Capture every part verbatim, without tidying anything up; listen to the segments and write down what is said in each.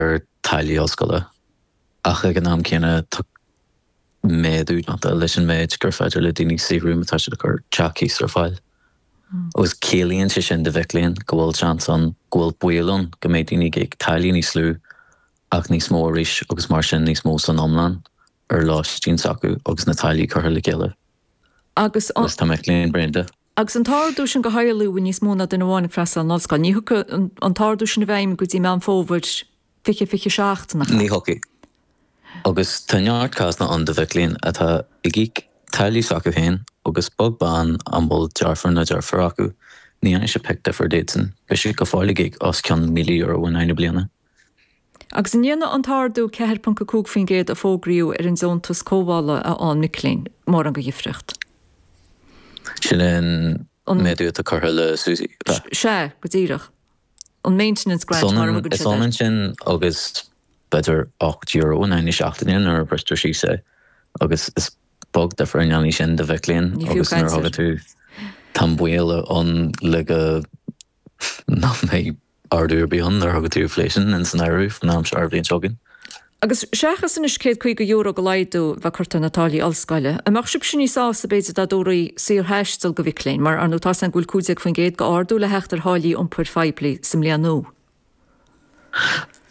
ar táillí ollscoile ach ag an am céanna tá méadú déanta leis an méid gur féidir le daoine saothrú má tá siad ag cur teach cíos ar fáil. Agus ciallaíonn sé sin do mhic léinn go bhfuil seans ann, go bhfuil baol ann go mbeidh daoine ag íoc táillí níos lú ach níos mó arís agus mar sin níos mó san iomlán ar lóistín s'acu agus na táillí curtha le chéile. Agus Agus tá mic léinn bréanta. Agus an t-ardú sin do theaghlaigh a bhfuil níos mó ná duine amháin ag freastal ar an ollscoil, ní thiocfaidh an t-ardú sin i bhfeidhm go dtí Meán Fómhair fiche fiche seacht, nach ea? Ní thiocfaidh. Agus tá neart cásanna ann de mhic léinn atá ag íoc táillí s'acu féin agus beag beann an bhfuil deirfiúr nó deartháir acu, ní dhéanfaidh sé pic difear daoibhsean, beidh siad go fóill ag íoc os cionn míle euro in aghaidh na bliana. Agus an ndéanfaidh an t-ardú ceathair ponc a cúig faoin gcéad a fógraíodh ar an deontas cothabhála a fhaigheann mic léinn mórán de dhifríocht? Sin an méadú atá curtha le SUSI, ab ea? Sea, go díreach. An maintenance grant mar a thugann Is siad air. ionann sin agus b'fhéidir ocht euro in aghaidh na seachtaine nuair a bristear síos é agus is beag difear a ndéanfaidh sin do mhic léinn Ní fiú agus nuair a caint air. thugann tú tá an baol ann le go nach mbeidh ardú ar bith ann nuair a thugann tú inflation in san áireamh faoin am seo ar bhliain seo chugainn. Agus seachas anois céad caoga euro de laghdú a bheith curtha ar na táillí ollscoile, an mbeadh sibhse níos sásta b'fhéidir dá dtabharfaí saorthaisteal do mhic léinn, mar ar ndóigh tá's againn go bhfuil cúig déag faoin gcéad d'ardú le theacht ar tháillí iompair phoiblí sa mbliain nua?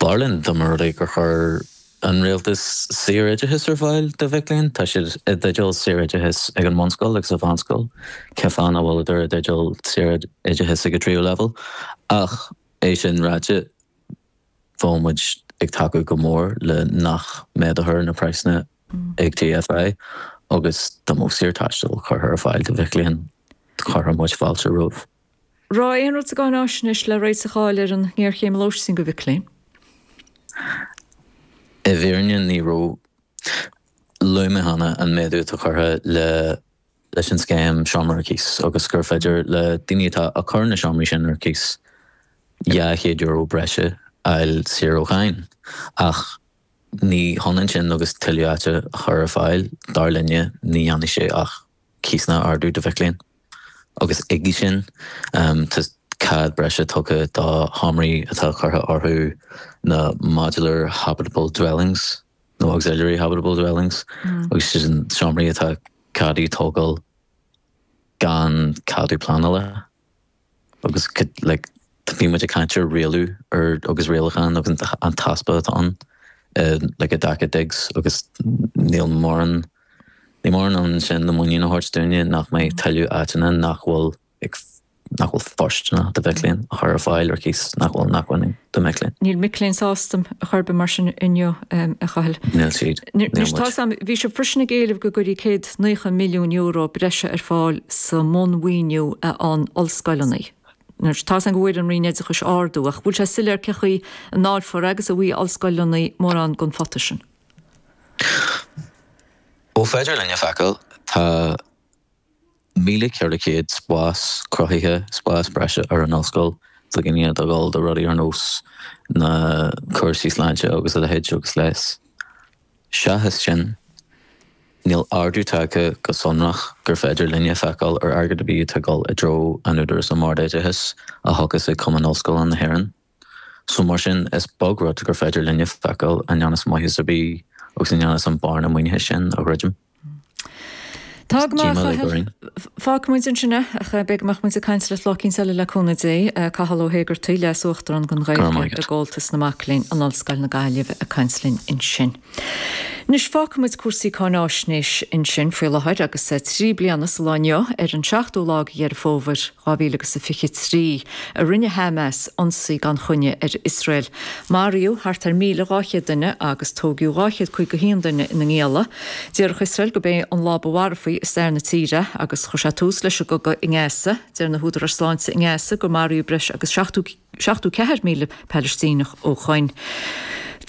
B'fhearr linn dá mba rud é gur chuir an rialtas saoroideachas ar fáil do mhic léinn. Tá siad i dteideal saoroideachas ag an mbunscoil agus sa mheánscoil, cén fáth nach bhfuileadar i dteideal saoroideachas ag an tríú leibhéal? Ach é sin ráite, bheadh muid ag tacú go mór le nach méadófar na praghsanna ag T F I agus dá mbeadh saorthaisteal curtha ar fáil do mhic léinn, chuirfeadh muid fáilte roimh. Raibh aon rud sa gcáináisnéis le réiteach a fháil ar an ngéarchéim lóistín do mhic léinn? I bhfírinne ní raibh. Luaigh mé cheana an méadú atá curtha le leis an scéim seomra ar cíos agus gur féidir le daoine atá ag cur na seomraí sin ar cíos dhá chéad euro breise a fháil saor ó cháin. Ach ní hionann sin agus tuilleadh áite a chur ar fáil, dar linne, ní dhéanfaidh sé ach cíosanna a ardú do mhic léinn. Agus chuige sin tá cead breise tugtha do sheomraí atá curtha orthu na modular habitable dwellings nó auxiliary habitable dwellings agus sin seomraí atá ceadaithe tógáil gan ceadú pleanála agus like bhí muid ag caint ar rialú ar agus rialachán agus an t-easpa atá ann like i dtaca digs agus níl mórán ní mórán ann sin le muinín a thabhairt dúinne nach mbeidh tuilleadh áiteanna nach bhfuil ag nach bhfuil fóirsteanach do mhic léinn a chur ar fáil ar cíos nach bhfuil inacmhainne do mhic léinn. Níl mic léinn sásta ar chor ar bith mar sin inniu, a Chathail. Níl siad. Níl Anois muid. tá 's a'm, bhí sibh freisin ag éileamh go gcuirfí céad naocha milliún euro breise ar fáil sa mbunmhaoiniú a fhaigheann ollscoileanna. Anois tá 's a'm go bhfuair an Roinn Oideachais ardú ach bhfuil sé soiléir cén chaoi a ndáilfear agus a bhfaighidh ollscoileanna mórán den phota sin? Ó féidir linn a feiceáil, tá míle ceithre chéad spás cruthaithe, spás breise ar an ollscoil do dhaoine atá ag dul do rudaí ar nós na cúrsaí sláinte agus a leithéid agus leigheas. Seachas sin, níl ardú tagtha go sonrach gur féidir linne feiceáil ar airgead ar bith atá ag dul i dtreo an Údarás um Ard-Oideachais a thiocfas ag Cumann Ollscoileanna na hÉireann. So mar sin, is beag rud gur féidir linne feiceáil a ndéanfas maitheas ar bith agus a ndéanfas an bearna maoinithe sin a dhruidim. Tá go maith, Díomá a uilig Chathail. orainn. Fágfaidh muid ansin é, ach beidh go mbeadh muid ag caint leat lá eicínt eile le cúnamh Dé. Cathal Ó hÉigeartaigh, Leas-Uachtarán don Go raibh Ghaeilge maith i agat. gComhaltas na Mac Léinn in Ollscoil na Gaillimhe ag caint linn ansin. Anois fágfaidh muid cúrsaí cáináisnéis ansin faoi láthair agus trí bliana sa lá inniu ar an seachtú lá de Dheireadh Fómhair dhá mhíle agus a fiche trí a rinne Hamas ionsaí gan choinne ar Iosrael. Maraíodh thart ar míle dhá chéad duine agus tógadh dhá chéad caoga a haon duine ina ngialla. Déarfadh Iosrael gurb é an lá ba mharfaí i stair na tíre agus chuir sé tús leis an gcogadh i nGaza. Deir na húdaráis sláinte i nGaza gur maraíodh breis agus seachtó seachtó ceathair míle Palaistíneach ó shoin.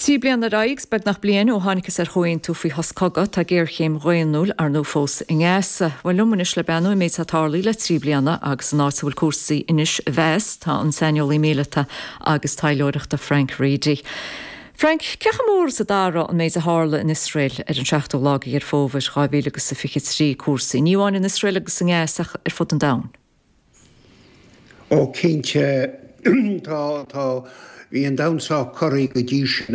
Trí bliana ar aghaidh, beagnach bliain ó thángthas ar chomhaontú faoi shos cogaidh, tá géarchéim dhaonnúil ar ndóigh fós i nGaza. Bhuel liom anois le breathnú ar an méid atá tarlaithe le trí bliana agus an áit a bhfuil cúrsaí anois a mheas, tá an saineolaí míleata agus taidhleoireachta Frank Reidy. Frank, cé chomh mór is a d'athraigh an méid a tharla in Iosrael ar an seachtú lá de Dheireadh Fómhair dhá mhíle agus a fiche trí cúrsaí, ní amháin in Iosrael agus i nGaza ach ar fud an domhain? Ó cinnte tá tá Bhí an domhan sách corraithe go dtí sin.